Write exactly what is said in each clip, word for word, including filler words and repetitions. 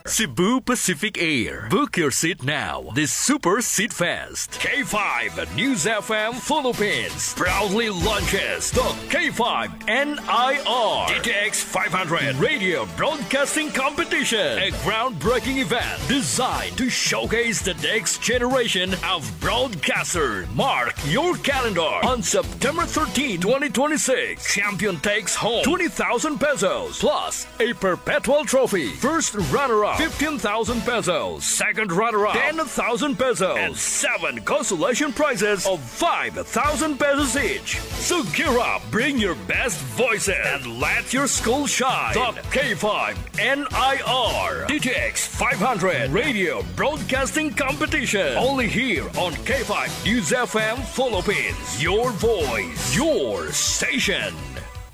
Cebu Pacific Air. Book your seat now. This Super Seat Fest. K five News F M Philippines proudly launches the K five N I R D T X five hundred Radio Broadcasting Competition, a groundbreaking event designed to showcase the next generation of broadcasters. Mark your calendar on September thirteenth, twenty twenty-six. Champion takes home twenty thousand pesos plus a perpetual trophy. First runner-up, fifteen thousand pesos. Second runner-up, ten thousand pesos. And seven consolation prizes of five thousand pesos each. So gear up, bring your best voices, and let your school shine. The K five N I R D T X five hundred Radio Broadcasting Competition. Only here on K five News F M Philippines. Your voice, your station.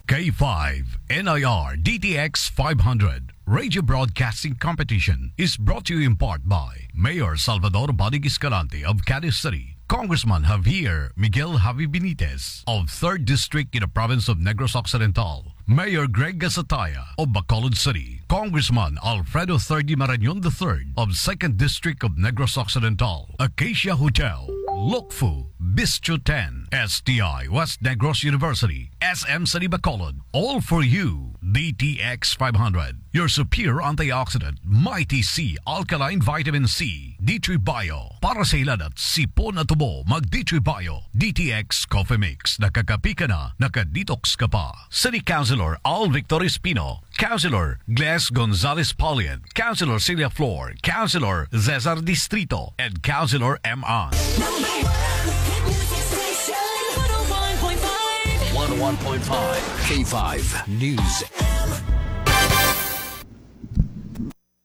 K five N I R D T X five hundred Radio Broadcasting Competition is brought to you in part by Mayor Salvador Bodig Escalante of Cadiz City, Congressman Javier Miguel Javi Benitez of third District in the province of Negros Occidental, Mayor Greg Gasataya of Bacolod City, Congressman Alfredo Thirdy Marañon the third of second District of Negros Occidental, Acacia Hotel, Lukfu, Bistro ten, S T I West Negros University, S M City Bacolod, all for you, D T X five hundred, your superior antioxidant, Mighty C alkaline vitamin C, D three Bio, para sa hilanat, sipon at tubo, mag D three Bio, D T X Coffee Mix, nakakapi ka na, naka-detox ka pa. City Councilor Al Victor Espino, Councilor Gles Gonzalez Paulian, Councilor Celia Flor, Councilor Cesar Distrito, and Councilor M. An. Number one hit music station, one oh one point five. One oh one point five K five News.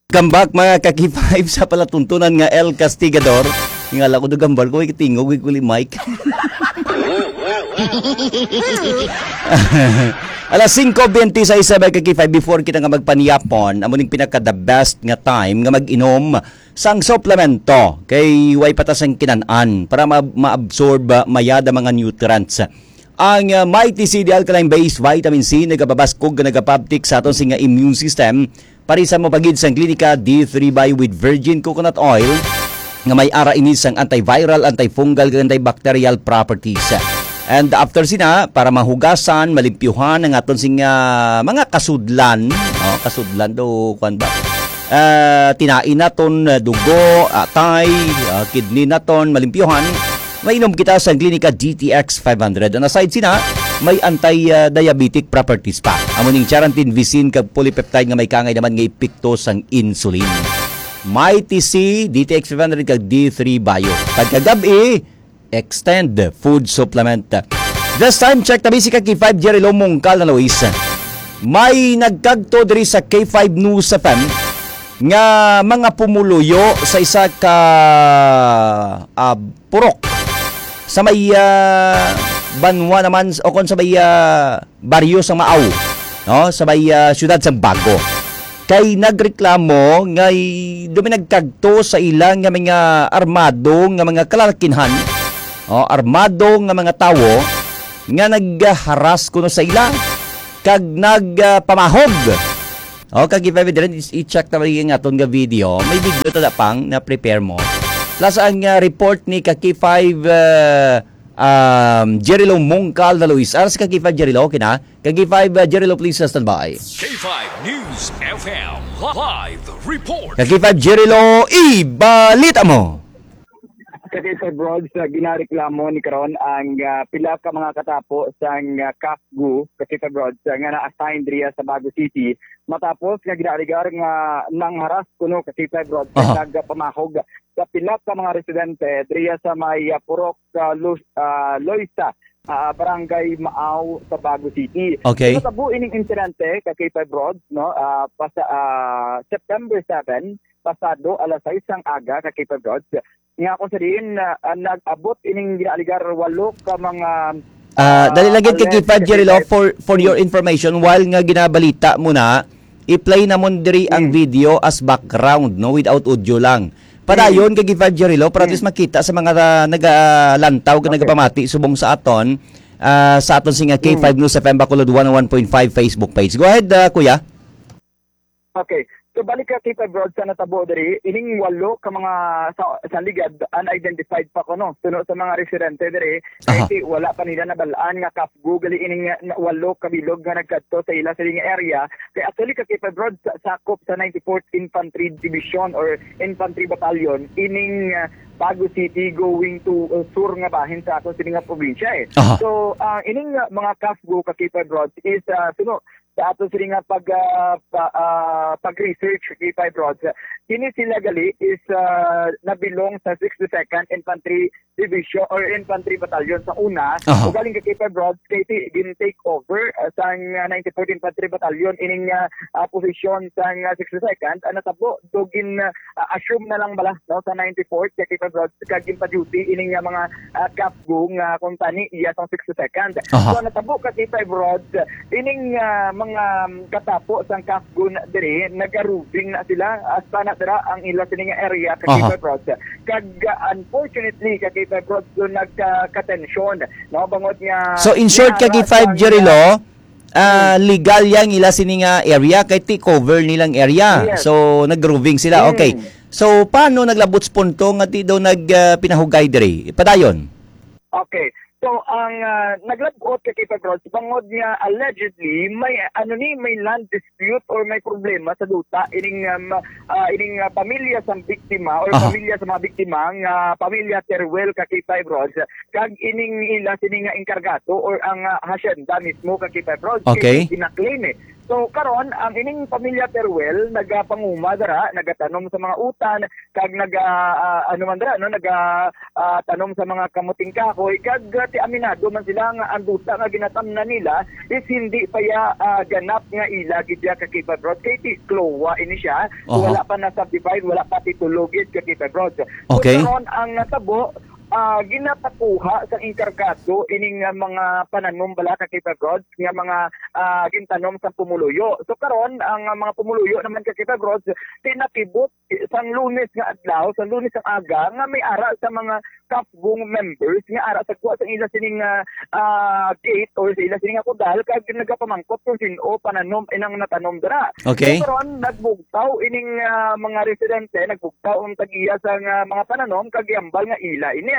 Welcome back, mga ka-K five, sa palatuntunan nga El Castigador. Nga lang ko do gambal ko, ikitingog, ikuli mic. Alas singko bente sa isa, mga ka-K five, before kita nga magpaniyapon, amo ning pinaka the best nga time nga mag-inom sang suplemento. Kay way pa ta sang kinan-an para ma-, ma-absorb, ah, mayada mga nutrients. Ang, ah, Mighty C D Alkaline Base Vitamin C nagapabaskog nga nagapabtik sa aton sing nga immune system. Parisan mo pa gid sang Klinika D three Bio with virgin coconut oil nga may ara ini sang antiviral, antifungal, kag antibacterial properties. And after sina, para mahugasan, malimpyuhan ang aton sing, ah, mga kasudlan, no? Kasudlan do, kuwan ba? Ah, tinain naton, ah, dugo, atay, ah, kidney naton, malimpyuhan. Mainom kita sang Klinika D T X five hundred. And aside sina, may anti, ah, diabetic properties pa. Amo ning charantin, visin, kag polypeptide nga may kaangay naman nga epekto sang insulin. Mighty C, D T X five hundred, kag D three Bio. Pagkagab-i, extend food supplement. This time, check tabi si ka K five Jerry Lo Mungkal na Luis. May nagkagto diri sa K five News F M nga mga pumuluyo sa isa ka, ah, purok sa may, ah, banwa naman o kon sa may, ah, baryo sa Maaw, no, sa may, ah, siyudad sa Bago. Kay nagreklamo nga daw may nagkagto sa ila nga mga armado nga mga kalalakinhan, o armado nga mga tawo nga nagharas kuno sa ila kag nagpamahog. O, kag if ever diri, i-, i-check ta lagi ang aton nga video. May video ta pang na-prepare mo. Plus ang, ah, report ni ka K five, ah, um, Jerry Lo Mungkal na Luis. Aras ka K five Jerry Lo, okay na? Ka K five, ah, Jerry Lo, please, ah, stand by. K five News F M live report. Ka K five Jerry Lo, ibalita mo. Ka K five Rods, ah, ginareklamo ni karon ang, ah, pila ka mga katapo sang, ah, CAFGU, ka K five Rods, ah, nga na-assign diriya sa Bago City, matapos nga ginaaligar nga nangharas kuno, ka K five Rods, Aha. nagpamahog sa pila ka mga residente diriya sa may, ah, Purok, ah, Lu-, ah, Loisa, ah, Barangay Maaw sa Bago City. Okay. Natabo ining insidente, ka K five Rods, no, ah, pasa-, ah, September seven, pasado alas sais sang aga, ka K five Rods, nga kung sa diin, ah, ah, nag-abot ining ginaaligar walo ka mga, Ah, ah, dali lang gid, ka K five, alleged, Jerry Lo, ka K five. for, for your Hmm. information, while nga ginabalita mo na, i-play namon diri ang Hmm. video as background, no, without audio lang. Padayon, Hmm. ka K five, Jerry Lo, para at Hmm. least makita sa mga, ah, nagalantaw, kag Okay. nagapamati subong sa aton, ah, sa aton sing, ah, Hmm. K five News F M Bacolod one oh one point five Facebook page. Go ahead, ah, kuya. Okay. So, balik ka, K five Rod, sa natabo diri, ining walo ka mga sa, sa ligad, unidentified pa kuno. Suno sa mga residente diri, kay Aha. ti-, wala pa nila nabal-an nga kafgo gali ining, ah, na, walo ka bilog nga nagkadto sa ila sining area. Kay actually, ka K five Rod, sa, sakop sa ninety-fourth Infantry Division or Infantry Battalion, ining, ah, Bago City going to, uh, sur nga bahin sa aton sini nga probinsya, eh. Aha. So, ah, ining, ah, mga kafgo, ka K five Rod, is, ah, suno sa aton sini nga pag, ah, pa, ah, pag-research, K five Rod, kini sila gali is, ah, nabilong sa sixty-second Infantry Division or Infantry Battalion sa una. Aha. Ugaling ka K five Rod, kay ti-, gin-take over, ah, sang, ah, ninety-fourth Infantry Battalion ining, ah, ah, posisyon sang, ah, sixty-second, ah, natabo, do gin, ah, ah, assume na lang bala, no, sa ninety-fourth, kay K five Rod, kag ginpa-duty ining, ah, mga, ah, kafgo nga kung tani iya sang sixty-second. Aha. So, natabo ka K five Rod, ining, ah, mga, um, katapo sang kafgo na diri, nagaroving na sila, hasta na dira ang ila sining area ka Aha. K five Rod. Kag, ah, unfortunately, ka K five Rod, so nagka-, katensyon, no, bangod nga So, in short, ka K five, Jerry Lo, ah, Hmm. legal yang ila sini nga area kay ti cover nilang area. Yes. So, nag-roving sila. Hmm. Okay. So, paano naglabot sa punto nga ti daw nag, ah, pinahugay diri? Padayon. Okay. So, ang, ah, naglabot ka K five Rod, bangod nga allegedly, may, ano ni, may land dispute or may problema sa duta ining, um, ah, ining, ah, pamilya sa biktima or Aha. pamilya sa mga biktima nga pamilya Teruel ka K five Rod, kag ining ila sini nga enkargado or ang, ah, hacienda mismo ka K five Rod, Okay. kay ginaklaim, eh. So, karon, ang ining pamilya Teruel nagapanguma dira, nagatanom sa mga utan, kag naga, ah, ano man dira, no, naga, ah, tanom sa mga kamuting kahoy, kag, ah, ti aminado man sila nga ang duta nga ginatamnan nila is hindi pa ya, ah, ganap nga ila gid ya ka K five Rod, kay ti klowa ini siya. Aha. Wala pa na subdivide, wala pa titulo gid ka K five Rod. So, Okay. karon ang natabo, ah, ginapakuha sa enkargado ining, ah, mga pananom bala ka K five Rod nga mga, ah, gintanom sa pumuluyo. So, karon ang, ah, mga pumuluyo naman ka K five Rod, tinakibot sang Lunes nga adlaw, sa Lunes ang aga, nga may ara sa mga kafgo members nga ara sa kuha sa ila sining, ah, ah, gate or sa ila sining nga kudal, kag nagapamangkot kung sin-o pananom inang natanom dira. Okay. So, karon, nagbugtaw ining, ah, mga residente, nagbugtaw ang tag-iya sa nga mga pananom, kag giambal nga ila ini.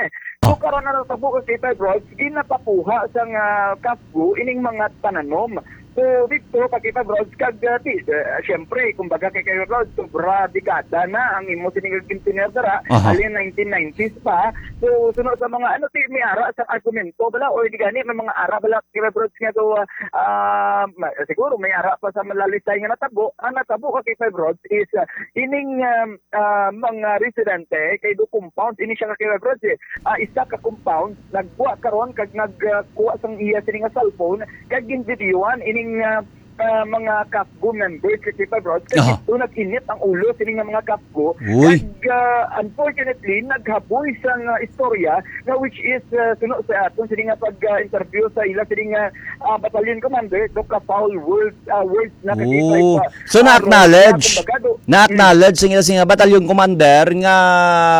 So, Oh. karon, ang natabo ka K five Rod, ginapakuha sa nga kafgo ining mga pananom. So, dito, ka K five Rod, kag, ah, ti-, ah, siyempre, kumbaga kay K five Rod, sobra dekada na ang imo sining gintener dira, Aha. halin nineteen nineties pa. So, suno sa mga, ano, ti, may ara sa argumento bala, or di gani, may mga ara bala, K five Rod, nga, so, ah, ah, ma-, siguro may ara pa sa malalisay nga natabo. Ang natabo ka K five Rod is, ah, ining, um, ah, mga residente, kay do compound, ini siya ka K five Rod, eh. Ah, isa ka compound, nagbuwa karon kag nagkuha sang iya sini nga cellphone, kag ginvideohan ining, ah, ah, mga kafgo members, ka K five Rod, kag Aha. ito nag-init ang ulo sini nga mga kafgo. Uy. Kag, ah, unfortunately, naghaboy sang, ah, istorya nga which is, ah, suno sa aton sini nga pag, ah, interview sa ila sini nga, ah, battalion commander, do ka foul words, ah, words na ka K five, Oh. ah, So, ah, na-acknowledge. kumbaga, do-, Na-acknowledge sa ila sini nga battalion commander nga,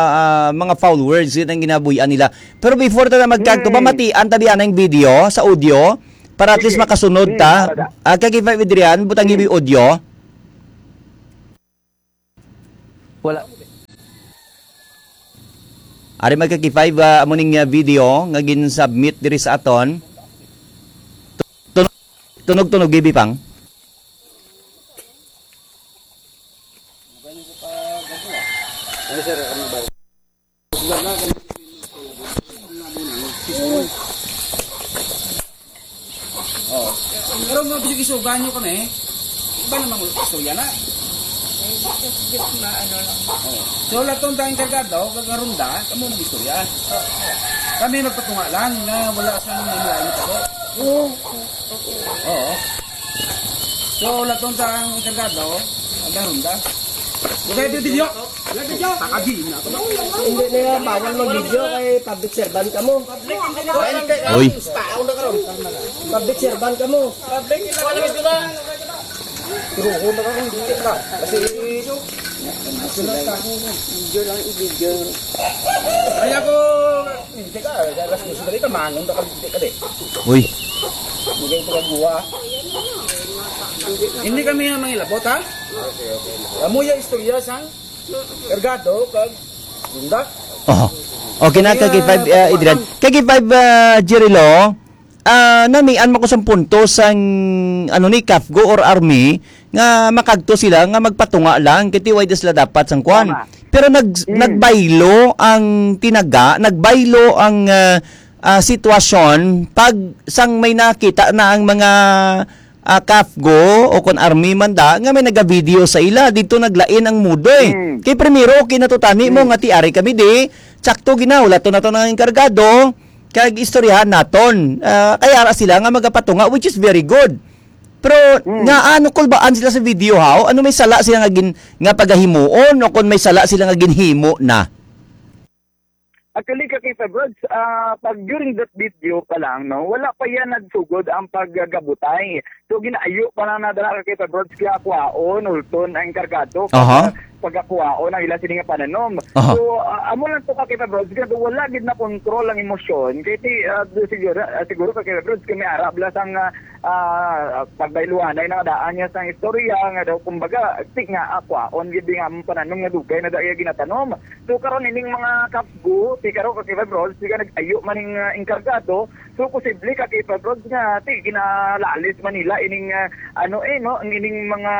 ah, mga foul words yun ang ginabuhian nila. Pero before ta na magkagto, Hmm. pamatian ta biya na yung video sa audio para at least Sige. makasunod Hmm, ta. para da. Ah, ka K five Adrian, butang Hmm. gibi audio. Wala. Ari, mga ka K five, ah, amo ning, ah, video nga gin-submit diri sa aton. Tu-, tunog, tunog, gibi pang. Ano, sir? Ano ba? Oh. Pero mga bisig isugan nyo kami, iba namang istorya na. Ay, just, just maano lang. Oh. So, lahat tong tayong kargado, kagarunda, kamo mag-istorya. Kami magpatunga lang na wala siyang nanilain na tabo. Oo. Okay. Oo. So, lahat tong tayong kargado, kagarunda. Okay, video. Hindi na, bawal mag-video kay public servant ka mo. Uy. Public servant ka mo. Pero ako na lang, hindi na. Kasi video lang, i-video. Ay, ako, hindi ka, alas dos na rin, manong na ka, hindi ka, di. Uy. Hindi kayo pagkaguha. Hindi kami ang mangilabot, ha? Amo ya istorya sang kargado kag gunda. Oh. Okay na, kag five, uh, Adrian. Kag five, uh, Jerry Lo, ah, namian man ko sang punto sang, ano ni, CAFGU or army nga makagto sila nga magpatunga lang, kay ti wala sila dapat sang kwan. Tama. Pero nag-, Mm. nagbaylo ang tinaga, nagbaylo ang, ah, ah, sitwasyon pag sang may nakita na ang mga, ah, CAFGU o kon army man da nga may nagavideo sa ila, dito naglain ang mudo eh. Mm. Kay primero, okay na to tani mo Mm. nga ti ari kami di, sakto ginaulaton nato ng enkargado, kag istoryahan naton. Ah, kaya ara sila nga magapatunga, which is very good. Pero Mm. nga ano kulbaan sila sa video, how? Ano may sala sila nga gin-, nga pagahimuon o kung may sala sila nga ginhimo na? Actually, Kakita Brods, ah, pag during that video pa lang, no, wala pa yan nagsugod ang paggabutay. So, ginaayo pa lang na dala, Kakita Brods, kaya kuhaon, ulton ang kargado. Aha. Pag, pagkakuhaon ang ila sini nga pananom. Aha. So, ah, amo lang to, Kakita Brods, kaya wala gid na control ang emosyon. Kaya ti, ah, siguro, ah, siguro, Kakita Brods, kami arab lang sang, ah, ah, pagbayluhanay na daan niya sang istorya, nga daw, kumbaga, ti nga, ah, kuhaon gid nga ang pananom nga dugay na daya ginatanom. So, karon ining mga CAFGU, ti karon ka K five Roads, ti ka nag-ayo man ning, ah, enkargado. So, posible ka K five Roads nga ti ginalalis man nila ining, ah, ano eh, no, ang ining mga,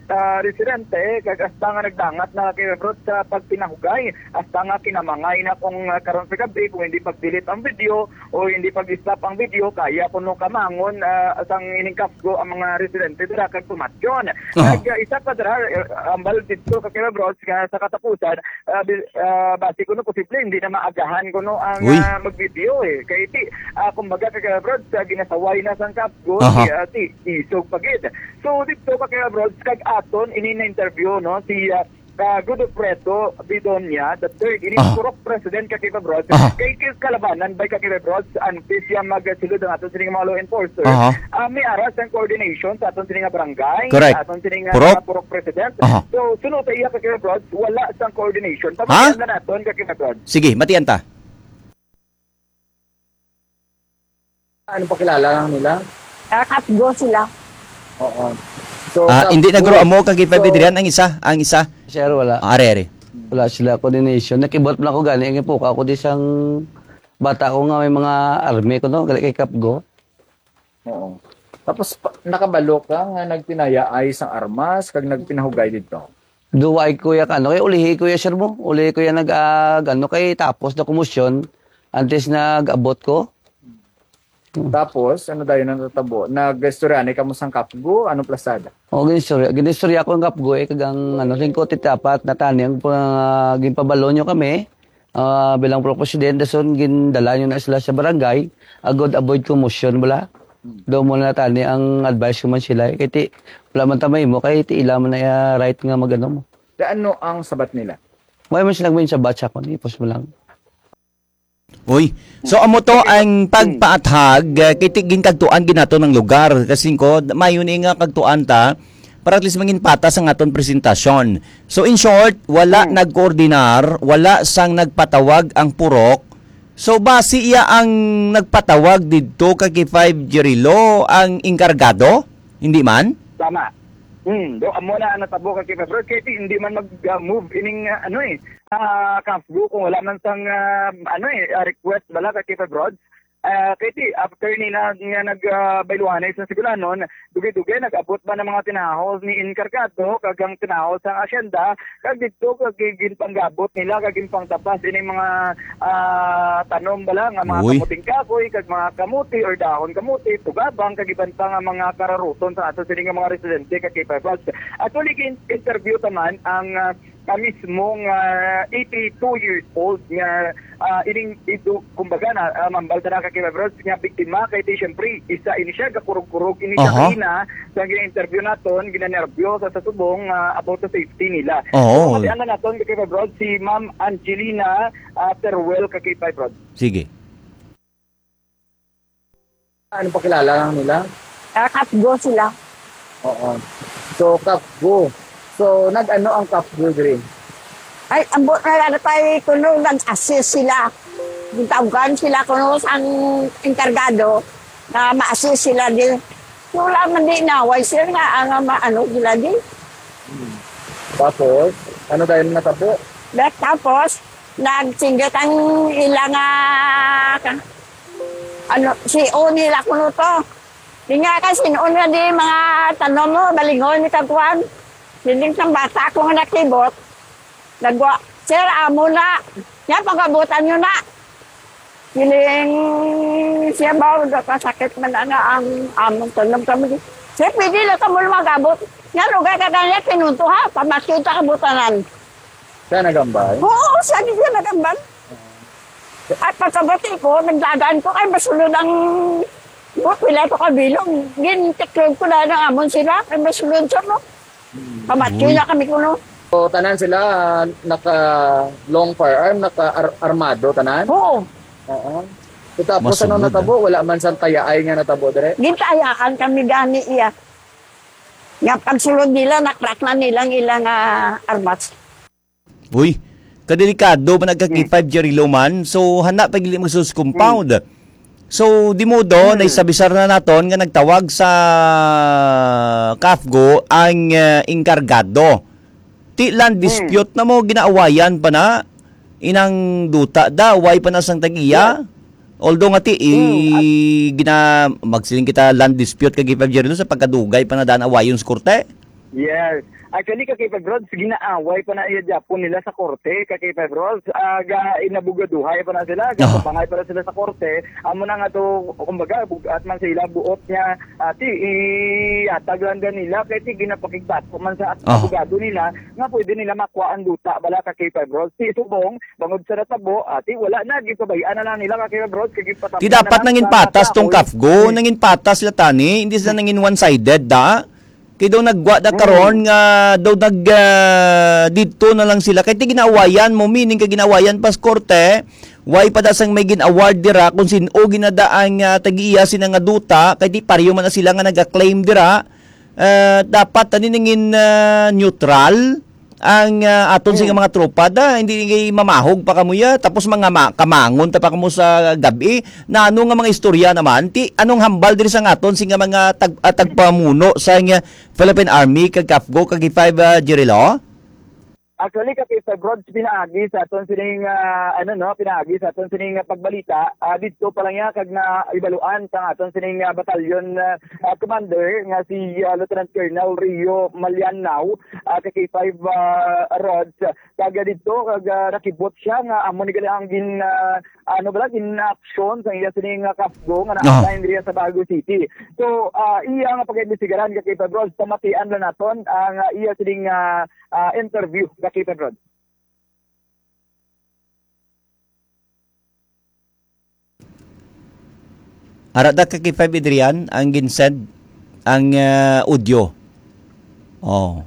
ah, residente, kag hasta nga nagdangat na K five Roads sa pagpinahugay, hasta nga kinamangay na kung, ah, karon sa gabi, kung hindi pag-delete ang video, o hindi pag-stop ang video, kaya kuno kamangon, ah, sang ining CAFGU ang mga residente dira kag tumatyon. Aha. Kag, ah, isa pa dira, eh, ambal dito ka Kira Bros, nga sa katapusan, ah, bi-, ah, basi kuno posible hindi na maagahan kuno ang, Uy. ah, mag-video eh. Kay ti, ah, kumbaga ka Kira Bros, sa ginasaway na sang CAFGU, Aha. ti, ah, ti, isog pa gid. So dito ka Kira Bros, kag aton ini na interview, no, si, ah, ka Godofredo Bidonia the third, ini Aha. purok president ka Kiba Bros. Aha. Kay, kay kalabanan ba ka Kiba Bros? Antes siya magsulod ang aton sining mga law enforcers. Aha. Ah, may aras ang coordination sa aton sining nga barangay, Correct. sa aton sining nga Purok? mga purok president. Aha. So, sunod sa iya ka Kiba Bros, wala sang coordination. Ha? Pamatian na naton ka Kiba Bros. Sige, matian ta. Ano pakilala lang nila? Ah, katgo sila. Oo. So, Ah, hindi na katgo. Guro amo kag K five So, Adrian ang isa, ang isa. Sir, wala. Ah, are, are. Wala sila coordination. Nakibot lang ako gani, ang ipuka ko di sang bata ko nga may mga army ko, no? Gali kay Kapgo. Oo. Tapos, pa-, nakabalo ka nga nagpinayaay sang armas, kag nagpinahugay dito? Duway, kuya, ka, ano, kay ulihi, kuya, sir mo. Ulihi, kuya, nag, ah, ano, kay tapos na kumusyon, antes nag-abot ko. Hmm. Tapos, ano dayon ang natabo? Nag-istorya ni kamo sang Kapgo? Anong plasada? O, ginistorya, ginistorya ko ang Kapgo, eh, kag ang, ano, lingkot itapat na tani ang pa-, ginpabalo nyo kami, ah, bilang pro presidente, son, gindala nyo na sila sa barangay, agod avoid commotion, bala. Hmm. Daw mo na tani ang advice ko man sila, eh, kay ti, wala man tamay mo, kay ti ila man na, ah, right nga mag-ano mo. Da ano ang sabat nila? Wala man sila may sabat sa akon, ipos mo lang. Uy. So, amo to ang pagpaathag, uh, kay ti-, ginkagtuan ginato ng lugar. Kasi ko, mayo ni nga kagtuan ta, para at least mangin patas ang aton presentasyon. So, in short, wala Hmm. nagkoordinar, wala sang nagpatawag ang purok. So, basi iya ang nagpatawag didto kay K five Jerilo, ang enkargado? Hindi man? Tama. Hmm, do amo na ang natabo ka K five Road. Kay ti-, hindi man mag, uh, move ining, uh, ano eh, ah, K five Go kung wala man sang, ah, ano eh, ah, request bala ka K five Road. Ah, kay ti, after ni na, nga nag, ah, bayluhanay sa Sigulanon, dugay-dugay nag-abot ba ng mga tinahos ni Encargado, kag ang tinahos sang asyenda, kag dito kag gi-, ginpanggabot nila, kag ginpangtapas ini mga, ah, tanom bala nga mga Uy. kamuting kahoy, kag mga kamuti or dahon kamuti, tugabang, kag iban pa nga mga kararuton sa ato sini nga mga residente kag K five Road. Actually, gin-interview ta man ang, ah, ah, mismo nga eighty-two years old nga, ah, ining idu-, kumbaga na, ah, mambal ta na ka K five Road nga biktima kay ti, siyempre, isa ini siya, gakurog-kurog ini siya Aha. kanina sa gina-interview naton, ginanerbyos sa, sa subong, ah, about sa safety nila. Oo. So, matian na naton ka K five Road, si Ma'am Angelina, ah, Teruel ka K five Road. Sige. Ano pakilala lang nila? Ah, Kapgo sila. Oo. So, Kapgo. So, nag-ano ang Kapgo diri? Ay, ambot na lang tayo kuno, nag-assist sila. Gitawgan sila kuno sang enkargado na ma-assist sila di. Wala man di naway sila nga ang ma-, ano sila di. Hmm. Tapos, ano dahil natabo? Tapos, nagsinggit ang ilang, ah, ka-, ano, si O nila kuno to. Di nga kay sin-o na di mga tanom mo, balingon ni kakuan. Siling sang bata ko nga nakibot. Nagwa, "Sir, amo na. Yan, pag-abutan nyo na." Siling siya ba, "Kasakit man na nga ang among tanom kami." "Sir, pwede na kamo mag-abot. Yan, ugay ka kanya, pinunto ha. Pamatyon ta kabutanan." Siya nagambal? Oo, siya di siya nagambal. At pagkabati ko, nagdagan ko, ay masulod ang buot, pila ko kabilog. Gintiklog ko na ng amon sila, ay masulod siya, no? Pamatyo Mm. na kami kuno. So, tanan sila, ah, naka long firearm, naka ar-, armado, tanan? Oo. Oo. So, tapos Mas ano sulod, natabo? ah. Wala man sang tayaay nga natabo dire? Gintayaan kami gani iya. Nga pagsulod nila, nakrak na nilang ilang, ah, armas. Uy, kadelikado ba nagka K five Jerry Loman? So, hana pa gili magsus compound. So, di mo do, Hmm. naisabisar na naton nga nagtawag sa kafgo ang, eh, enkargado. Ti land Hmm. dispute na mo, ginaawayan pa na. Inang duta da, way pa na sang tag-iya. Yes. Although nga ti, i-, Hmm, at gina-, magsiling kita land dispute kag K five Jerry Loman sa pagkadugay pa na daan awayon sa korte. Yes. Actually, ka K five Rods, ginaaway pa na iya gyapon nila sa korte, ka K five Rods. Ah, ga-, inabugaduhay pa na sila, Oh. gatapangay pa na sila sa korte. Amo na nga to, kumbaga, bugat man sa ila, buot nga, ah, ti, ihatag lang da nila, kay ti ginapakigbato man sa Oh. abogado nila, nga pwede nila makuha ang duta, bala, ka K five Rods. Ti subong, bangod sa natabo, ah, ti wala na, gipabayaan na lang nila, ka K five Rods, kay gipatapos Ti na dapat lang nangin sa patas tong kahoy. kafgo, Hmm. nangin patas sila tani, hindi sila nangin one-sided, da? Kay daw nagwa da Hmm. karon nga daw nag, ah, didto na lang sila. Kay ti ginawayan mo, meaning kay ginawayan pas korte, way pa da sang may gin-award dira kung sin-o ginadaan nga tag-iya sina nga duta, kay ti pareho man na sila nga naga-claim dira. Ah, dapat ani nangin, ah, neutral ang, ah, aton sing Hmm. mga tropa da, hindi kay mamahog pa kamo ya, tapos mga ma-, kamangon ta pa kamo sa gab-i. Na ano nga mga istorya naman? Ti, anong hambal diri sa aton sing mga tag-, ah, tagpamuno sa nga Philippine Army, kag kafgo, kag K five, ah, Jerilo? Actually, ka K five Rods, pinaagi sa aton sining, ah, ano, no, pinaagi sa aton sining, ah, pagbalita, ah, didto pa lang ya kag naibaluan sang aton sining, ah, batalyon, ah, ah, commander nga si, ah, Lieutenant Colonel Rio Malianao, ah, ka K five, ah, Rods. Taga didto, kag, ah, nakibot siya nga amo ni gali ang gin-, ah, ano bala, gin-aksyon sang iya sining, ah, kafgo nga Ah. na-assign diri sa Bago City. So, ah, iya nga pag-imbestigaran ka K five Rods, pamatian lang naton ang, ah, iya sining, ah, ah, interview ka K five Rods. Ara da ka K five Adrian ang ginsend ang, ah, audio. Oh.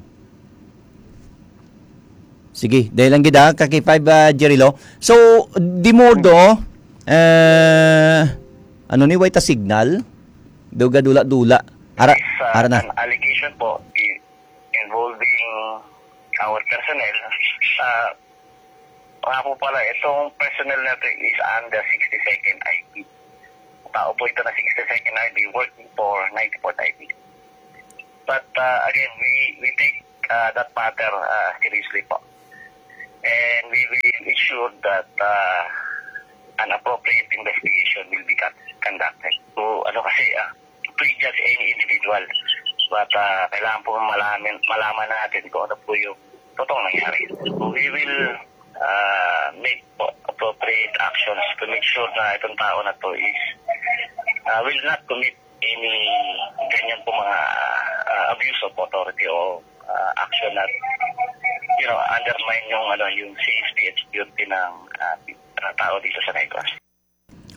Sige, dahil lang gid, ah, ka K five, ah, Jerilo. So, di mo do, eh, ano ni, way ta signal? Daw gadula-dula. Ara, It's, uh, ara na. An allegation po i-, involving our personnel. Uh, nga po pala, itong personnel natin is under sixty-second I P. Tao po ito na sixty-second I P working for ninety-fourth I P. But, uh, again, we, we take, uh, that matter, uh, seriously po. And we will ensure that, uh, an appropriate investigation will be con-, conducted. So, ano kasi, ah, prejudge any individual. But, ah, kailangan po malaman, malaman natin kung ano po yung totoong nangyari. So, we will, ah, make po appropriate actions to make sure na itong tao na to is, ah, will not commit any ganyan po mga, ah, abuse of authority o, ah, action na, you know, undermine yung, ano, yung safety and security ng, ah, tao dito sa Negros.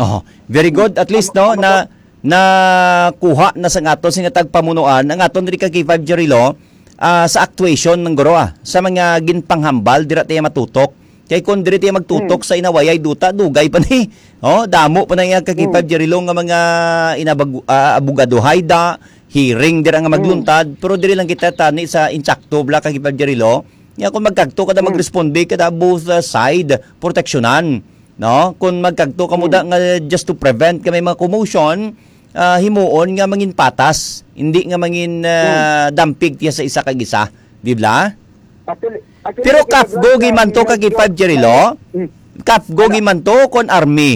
Oh, very good. At least, no, na, nakuha na sa aton sing tagpamunuan ang aton diri ka K five Jerilo, ah, sa actuation ng guro, ah, sa mga ginpanghambal, dira tayo matutok. Kay kung diri tayo magtutok Hmm. sa inawayay duta, dugay pa ni. Oh, damo pa na iya ka K five Hmm. Jerilo nga mga inabag-, ah, abogadohay da, hearing dira nga Hmm. magluntad, pero diri lang kita tani sa insakto bla ka K five Jerilo. Nga kung magkagto kada Hmm. magresponde kada both, ah, side, proteksyonan. No? Kung magkagto kamo Hmm. da nga just to prevent ka may mga commotion, ah, himuon nga mangin patas, hindi nga mangin, ah, Hmm. dampig tiya sa isa kag isa, di bla? Actually, actually, Pero Kevin Kafgo Ross, ah, gimanto ka Kevin G five, Ross, Jerry Lo? Mm. Kafgo Ano? gimanto kon army?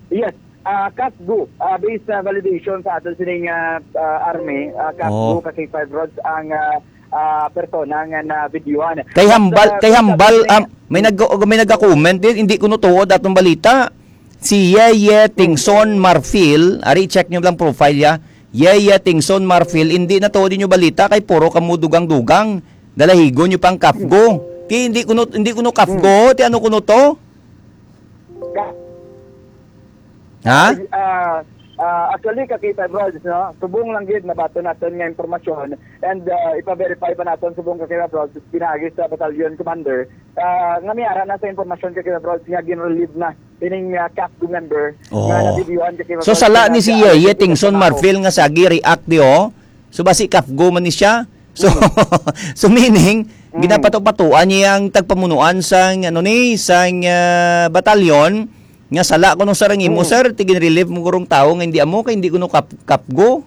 Yes. Ah, Kafgo, ah, based sa validation sa ato sining, ah, ah, army, ah, Kafgo Oh. ka K five Rods ang, ah, ah, persona nga na-videohan. Kay But, hambal, ah, kay based sa hambal, sining um, may nag-, may nagka-comment din, hindi ko nutuod atong balita. Si Yeye Tingson Marfil, ari, check nyo lang profile ya. Yeye Tingson Marfil, hindi na tuod inyo balita kay puro kamo dugang-dugang. Dalahigon nyo pang Kafgo. Ti hindi kuno, hindi kuno Kafgo, ti ano kuno to? Ka- Ha? Ah, ah, actually, ka K five Rods, no? Subong lang gid nabaton naton nga impormasyon and, ah, ipa-verify pa naton subong ka K five Rods pinaagi sa battalion commander, ah, nga may ara na sa impormasyon ka K five Rods nga gin-relieve na ining, ah, Kafgo member nga Oo. nabidyohan ka K five So, Rods sala nga ni si nag-aaral Yeye sa Tingson trabaho. Marfil nga sagi react di, oh. So, basi Kafgo man ni siya. So, so meaning, Mm. ginapato-patuan niya ang tagpamunuan sang, ano ni, sang, ah, batalyon, nga sala kuno sa rangimo, Mm. sir, ti gin-relieve mo kurong tawo nga hindi amo, kay hindi kuno kap-, kapgo.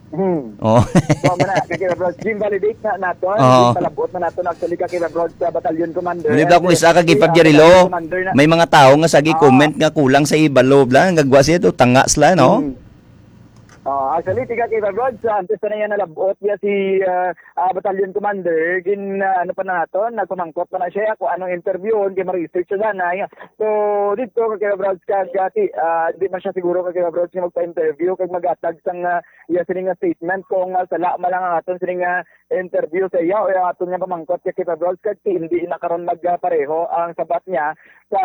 Hmm. Oh. So, man na, kay Kira Brods, gin-validate na nato, Oo. gin-palabot na nato, actually, ka Kira Brods sa battalion commander. Muli ba And, kung isa ka uh, gipag-, Jerry Lo, commander na. May mga tawo nga sagi Ah. comment nga kulang sa ibalo, bla, nga gwa siya to, tanga sila, no? Hmm. Oh, actually, tiga kay Rods, ah, antes pa na yan nalabot niya si, ah, ah, Battalion Commander, gin, ah, ano pa na nato, nagpamangkot pa na siya kung anong interviewon, kay ma-research siya na. So, dito kay Rods, kag, ah, ti-, ah, di man siya siguro kay Rods nga magpa-interview, kag magatag sang, ah, iya sining nga statement kung, ah, sala man lang ang aton sining nga interview sa iya o ang aton nga pamangkot kay Rods, kag ti-, hindi na karon magpareho ang sabat niya sa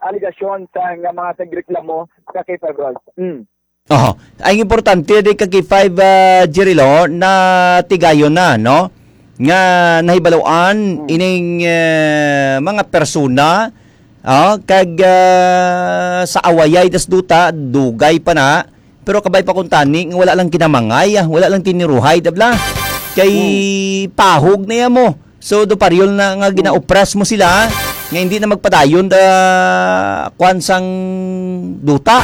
alegasyon sa nga mga tagreklamo sa kay Rods. Mm. Oho. Ang importante di kag five, ah, Jerry Lo, na tigayon na, no? Nga nahibaluan Mm. ining, eh, mga persona, ah, kag, ah, sa awayay das duta, dugay pa na. Pero kabay pa kung tani, nga wala lang kinamangay, ah, wala lang tiniruhay, dabla. Kay Mm. pahog na yan mo. So, do pareho na nga Hmm. gina-oppress mo sila, nga hindi na magpadayon da kwan sang duta.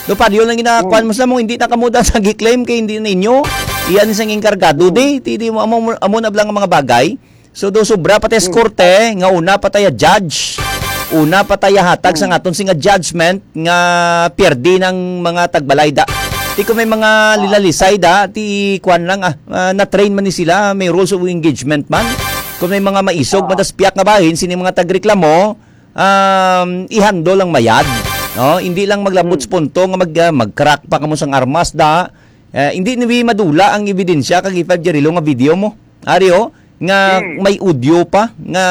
Do pareho lang gina-kwan Hmm. mo sila mo, hindi na kamo da sa gi-claim kay hindi na ninyo. Iyan sang enkargado Hmm. di, ti, di mo, amo, amo na lang ang mga bagay. So, do sobra pa tayo Hmm. korte, nga una pa tayo judge. Una pa tayo hatag sa Hmm. aton singa judgment nga pierde ng mga tagbalay da. Ti kung may mga Ah. lilalisay da, ti kwan lang, ah, ah, na-train man ni sila, may rules of engagement man. Kung may mga maisog, Ah. madaspiak nga bahin, sini mga tagreklamo, um, i-handle lang mayad. No? Hindi lang maglabot Hmm. sa punto nga mag, ah, mag-crack pa kamo sang armas da. Eh, hindi ni madula ang ebidensya kag five Jerry Lo nga video mo. Ari, oh, nga Hmm. may audio pa nga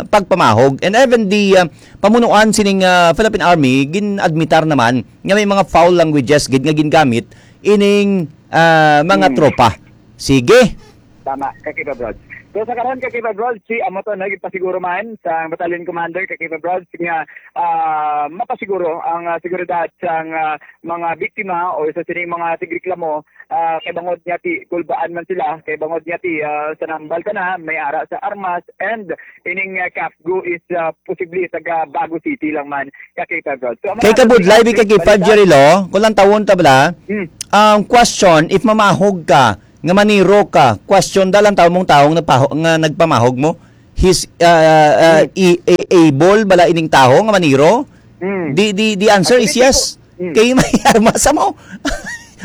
pagpamahog. And even the, uh, pamunuan sining, uh, Philippine Army, gin-admitar naman nga may mga foul languages gid nga gingamit ining, uh, mga Hmm. tropa. Sige. Tama, Kakiba Brods. So, sa karon, Kakiba Brods, si amo to, no, gipasiguro man sa Battalion Commander, Kakiba Brods, nga, ah, mapasiguro ang, ah, seguridad sang, ah, mga biktima o sa sining mga tigreklamo, ah, kay bangod niya ti kulbaan man sila, kay bangod niya ti, ah, sa nambal ka na, may ara sa armas, and ining, ah, Kafgo is, ah, posible taga Bago City lang man, ka K five Rods. So, ang Kay mga kabudlay, bi ka K five, balita. Jerry Lo, kung lang tawon ta bala, Hmm. ang question, if mamahog ka, nga maniro ka, question da lang tawon mong tawo nga nagpaho-, nga nagpamahog mo, he's, ah, ah, Hmm. i-, i-, able bala ining tawo nga maniro? Hmm. The, the, the answer is Actually, yes. Hmm. Kay may armas mo.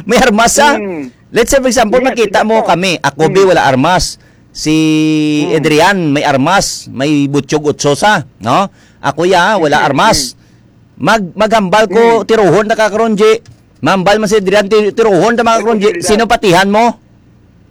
May armas sa. Hmm. Let's say, for example, Yes, makita yes, mo sir. kami. Ako, Hmm. bi, wala armas. Si Hmm. Adrian, may armas. May butyog utso sa, no? Ako, ya, wala Hmm. armas. Hmm. Mag-, maghambal ko, Hmm. tiruhon na ka karon, G. Mambal man si Adrian, ti-, tiruhon na mga Ay, karon, G. Adrian. Sino patihan mo?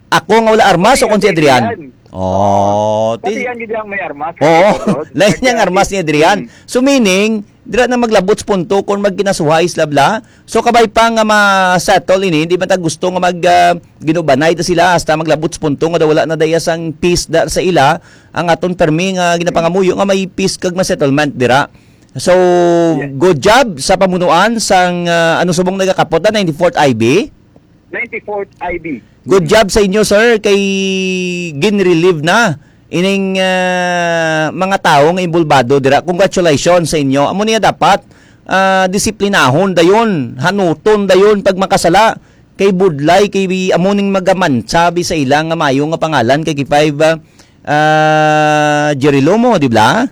Ako nga wala armas o Pati kung si Adrian? Adrian. Oh, ti-, Pati yan, gid ang may armas. Oo. Bro. Lain niyang Kaya armas ni Adrian. Hmm. So, meaning, dira na maglabot sa punto kung magkinasuhay sila bla. So, kabay pa nga ma-settle ini, hindi man ta gusto nga mag, ah, ginubanay ta sila hasta maglabot sa punto nga daw wala na daya sang peace da, sa ila, ang aton permi nga ginapangamuyo nga may peace kag ma-settlement dira. So, Yes. good job sa pamunuan sang, ah, ano subong nagakapot na, ninety-fourth I B? Ninety-fourth I B. Good job sa inyo, sir, kay gin-relieve na ining, ah, mga tawo nga involbado dira. Congratulations sa inyo. Amo niya dapat, ah, disiplinahon dayon, hanuton dayon pag makasala. Kay budlay, kay amo ning magamantsa bi sa ila nga mayo nga pangalan, kay K five, ah, ah, Jerry Lomo, di ba?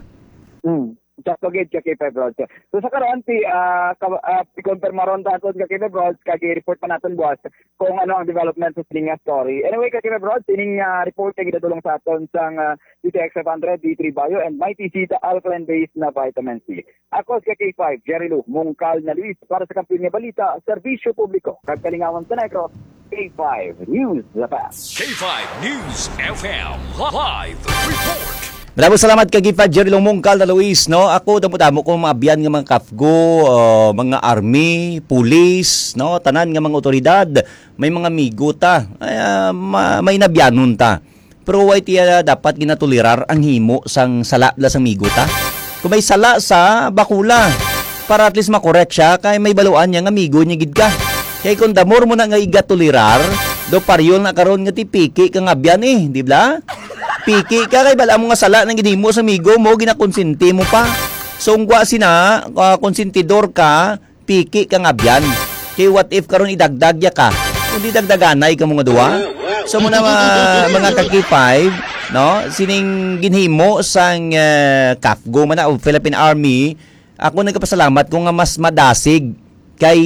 Hmm. Just to get ka K five Rods. So sa karon, ti, ah, ka, ah, i-confirm ron ta aton ka K five Rods, kag i-report pa naton buwas kung ano ang development sa sining nga story. Anyway, ka K five Rods, ining, ah, report ay ginadulong sa aton sang, ah, D T X five hundred, D three Bio, and Mighty Zita Alkaline Base na Vitamin C. Ako si K five, Jerry Lou, mungkal na Luis, para sa Kampiyon nga Balita, Serbisyo Publiko, kag Kalingawan sa Negros, K five News F M. K five News F M, live report. Maraming salamat kay K five Jerry Lou, mungkal na Luis, no? Ako, damo-damo ko mga abyan nga mga kafgo, uh, mga army, pulis, no? Tanan nga mga otoridad, may mga amigo ta. Ay, ah, ma-, may nabyanon ta. Pero why tiya dapat ginatolerar ang himo sang sala la sang amigo ta? Kung may sala sa bakula, para at least makorek siya, kay may baluan niya nga amigo niya gid ka. Kay kung damor mo na nga igatolerar, do paryol na karon nga ti piki ka nga abyan eh, di ba? Piki ka kay bala mo nga sala nang ginhimo sa amigo mo, ginakonsente mo pa. So, ungwa sina, ah, konsentidor ka, piki ka nga abyan. Kay what if karon idagdag ya ka? Kung di dagdaganay ka mga duwa. So muna mga, mga ka K five, no? Sining ginhimo sang, eh, kafgo man na o Philippine Army, ako nagkapasalamat ko nga mas madasig kay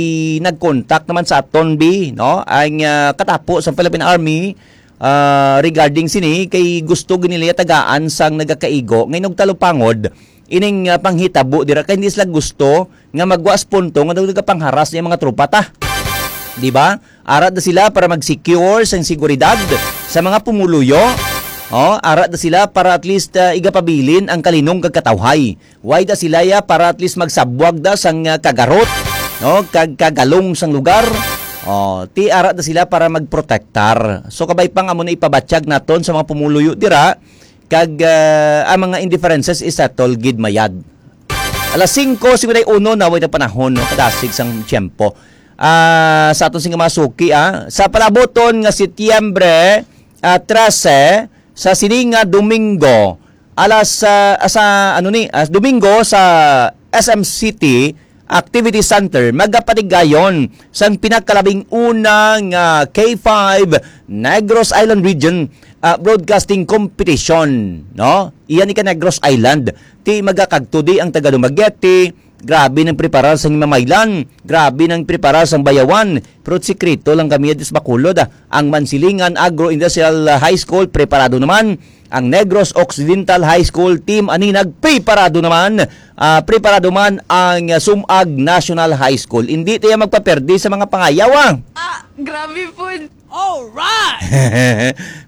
nag-contact naman sa aton bi, no? Ang, ah, katapo sa Philippine Army, ah, regarding sini kay gusto gid nila tagaan sang nagakaigo ngay nagtalupangod ining, ah, panghitabo dira kay hindi sila gusto nga magwas punto nga nagapangharas niya mga tropa ta. Di ba? Ara da sila para mag-secure sang seguridad sa mga pumuluyo. Oh, ara da sila para at least, ah, igapabilin ang kalinong kag katawhay. Why da sila ya para at least magsabwag da sang, ah, kagarot, no? Kag kagalong sang lugar. Oh, ti ara da sila para magprotektar. So kabay pang amo na ipabatyag naton sa mga pumuluyo dira kag, ah, ang mga indifferences isettle gid mayad. Alas singko cincuenta y uno na way na panahon, no? Kadasig sang tiyempo. Ah, sa aton sing mga suki, ah, sa palaboton nga Setyembre, ah, trese, sa sining nga Domingo, alas, ah, sa, ano ni, ah, Domingo sa S M City Activity Center, magapatigayon sang pinakalabing una nga K five Negros Island Region, ah, Broadcasting Competition, no? Iya ni ka Negros Island, ti magakagtudi ang taga Dumaguete, grabe nang preparar sang Himamaylan, grabe nang preparar sang Bayawan, pero sikreto lang kami dito sa Bacolod, ah. Ang Mansilingan Agro-Industrial High School, preparado naman. Ang Negros Occidental High School, Team Aninag, preparado naman. Ah, preparado man ang, ah, Sumag National High School. Hindi tayo magpaperdi sa mga pangayaw, ah. Ah, grabe po. Alright!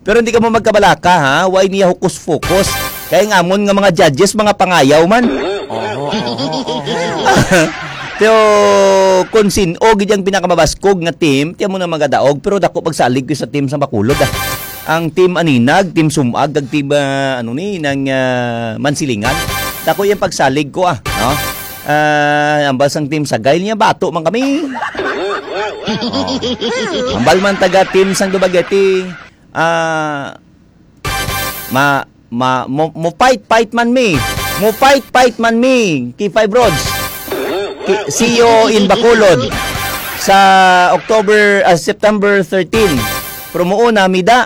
Pero hindi ka mo magkabalaka, ha? Why niya hukus-fukus? Kaya nga amon nga mga judges, mga pangayaw man. Oho, oho, oho. Pero kung sin-o gid ang pinakamabaskog nga team, tiyan mo na magadaog, pero dako pagsalig ko sa team sa Bacolod, ah. Ang team Aninag, team Sumag, kag team, ah, ano ni, ng, ah, Mansilingan. Dako yung pagsalig ko, ah, no? Ah, ambal sang team Sagay niya, bato man kami. Oh. Ambal man taga team sang Dumaguete, ah, ma, ma, mo, mo fight, fight man mi. Mo fight, fight man mi. K five Rods. Ki-, see you in Bacolod sa October, ah, September thirteen. Promoon na, mida.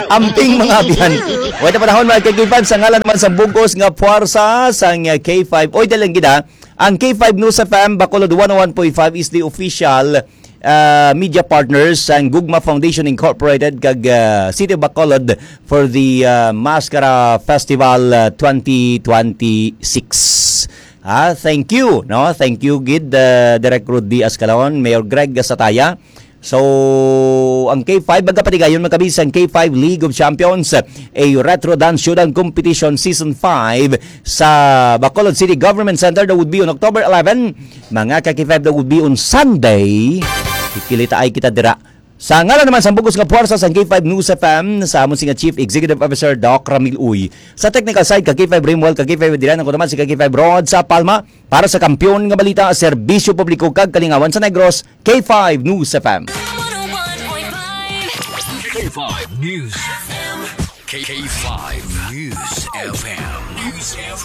Amping mga abyan. Wala na panahon, mga ka-K five, sa ngalan naman sa bugos nga puwersa sang K five. Oy, dalang gid, ha. Ang K five News F M Bacolod one oh one point five is the official, uh, media partners sang Gugma Foundation Incorporated kag, uh, City of Bacolod for the, uh, Mascara Festival, uh, twenty twenty-six. Ah, thank you, no? Thank you gid, uh, Direk Rudy Ascalon, Mayor Greg Sataya. So, ang K five, magkapatigayon man kami sa K five League of Champions, a retro dance showdown competition season five sa Bacolod City Government Center. That would be on October eleven. Mga ka-K five, that would be on Sunday. Kikilitaay kita dira. Sa ngalan naman sa bugos nga puwersa sa K five News F M, sa amon si nga Chief Executive Officer, Doc Ramil Uy. Sa technical side, ka-K five Rimwell, ka-K five Adrian, ako naman si ka-K five Rod sa Palma. Para sa Kampiyon nga Balita, Serbisyo Publiko kag Kalingawan sa Negros, K five News F M. K five News F M. K five News F M. News F M.